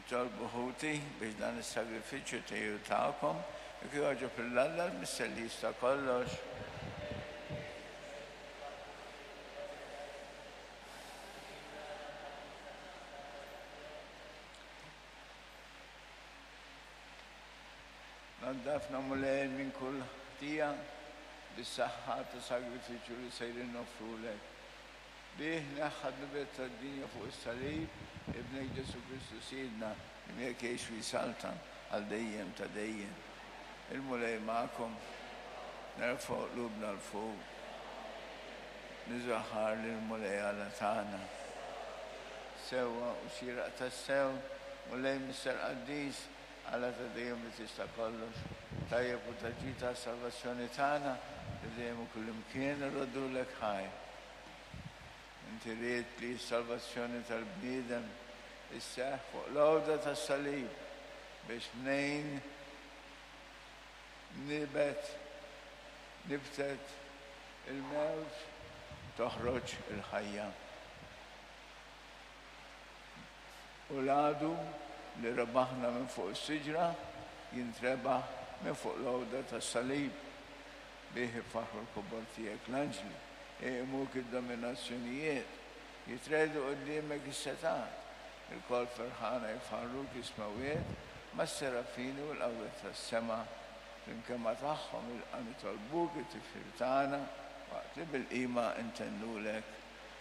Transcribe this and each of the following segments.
Itolbu ħuti biex dan is-sagrifiċċju tiegħi u tagħkom ikun jogħġob lil Alla l-Missier li jista' kollox. Naddafna Mulej minn kull ħtija bis-saħħa ta' sagrifiċċju li sejrin noffrulek. Bih neħħa d-dnubiet tad-dinja fuq is-salib, Ibnek Ġesù Kristu Sidna, li miegħek jgħix u jsaltan għal dejjem ta' dejjem. Il-Mulej magħkom. Nerfgħu qlubna 'l fuq. Niżaħħar lill-Mulej Alla tagħna. Sewwa u xieraq tassew, Mulej Missier Qaddis, Alla ta' dejjem li tista' kollox, tajjeb u ta' ġid għas-salvazzjoni tagħna, li dejjem u kullimkien irroddulek ħajr. Inti ridt li s-salvazzjoni tal-bniedem isseħħ fuq l-għoda tas-salib biex mnejn nibet, nibtet il-mewt toħroġ il-ħajja. U l-għadu li rebaħna minn fuq is-siġra jintrebaħ minn fuq l-għoda tas-salib. Bih ifaħħru l-kobor tiegħek l-anġli, iqimuk id-dominazzjonijiet, jitregħdu quddiemek is-setgħat. Ilkoll ferħana jfaħħruk is-smewwiet mas-serafini u l-qawwiet tas-sema. Flimkien ma' tagħhom ilqa' nitolbuk it-tifħir tagħna waqt li bil-qima ntennulek,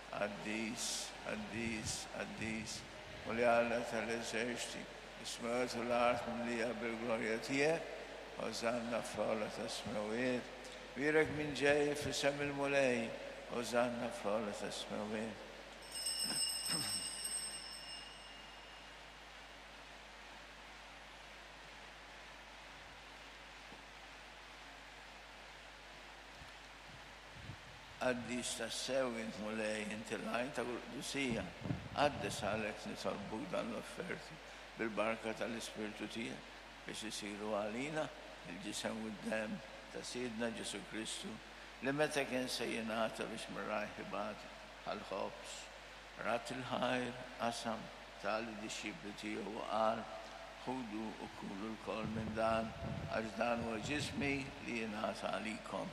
Qaddis, qaddis, qaddis, Mulej Alla tal-eżerċti, Is-smewwiet u l-art mimlija bil-glorja tiegħek, Ożanna fl-ogħla tas-smewwiet. Bierek min ġej f'isem il-Mulej, Ożanna fl-ogħla tas-smewwiet. Qaddis tassew int Mulej, inti l-għajn ta' kull qdusija. Qaddes għalhekk nitolbuk dan l-offerti bil-barka tal-Ispirtu tiegħek biex isiru għalina l-ġisem u d-demm ta' Sidna Ġesù Kristu li meta kien se jingħata biex minn rajh ibati ħa l-ħobż, radd il-ħajr, qasam, ta lid-dixxipli tiegħu u qal, Ħudu u kulu lkoll minn dan, għax dan huwa ġismi li jingħata għalikom.